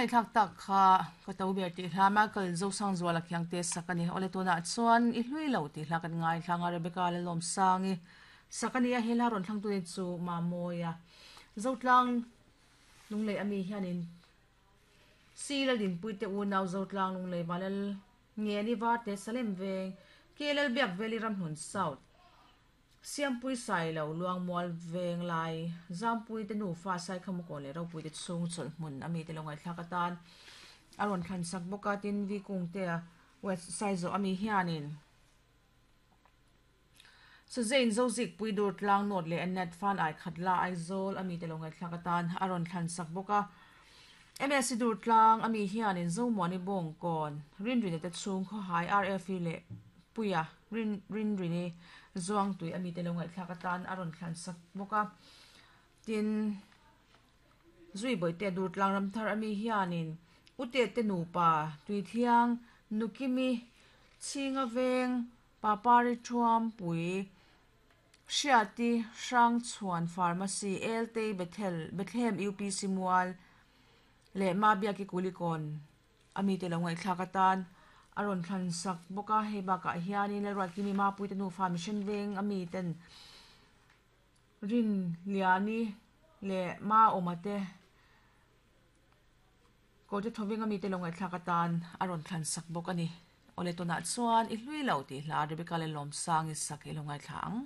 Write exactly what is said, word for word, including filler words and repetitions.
Kan ngaihthlak tak kha ka to ber tih hla Michael Zosangzuala Khiangte sak a ni. Awle tunah chuan i hlui lo tih hla kan ngaithlang a Rebecca Lalawmsangi sak a ni a, he hla rawn thlangtu ni chu Mamawia Zotlang Lunglei ami hianin si Laldinpui te unau Zotlang Lunglei Valal Ngeni Varte Salem Veng K Lalbiak Veli Ramhlun South Siampui Sailo Luangmual Veng Lai Zampui te nufa Saikhamukawn leh Ropui te chhung chawlh hmun ami te lo ngaihthlak atan a rawn thlan sak bawk a tin vi kung te a west Saizawh ami hianin Sazein Zozik pui dur tlang nawt leh Annette fan ai khat la Aizawl ami te lo ngaihthlak atan a rawn thlan sak bawk a M S dur tlang ami hianin Zomuani Bawngkawn Rinrine te chhung khawhai R F E leh Puia Rin Rinrini Zuangtui ami te lo ngaihthlak atan a rawn thlan sak bawk a tin zui bawihte dur tlang ramthar ami hianin ute te nupa Tuithiang Nukimi Chhinga Veng Papari Thuam Pui Hriati Hrangchhuan Pharmacy Eltei Bethel Bethlehem U P C Mual leh Mabiaki Kulikawn ami te lo ngaihthlak atan a rawn thlan sak bawk a hei bakah hianin Lalruatkimi Mapui te nufa Mission Veng ami ten Rin Liani leh Ma Awma te Kawrte Thawveng ami te lo ngaihthlak atan a rawn thlan sak bawk a ni. Awle tunah chuan i hlui lo tih hla Rebecca Lalawmsangi sak i lo ngaithla ang.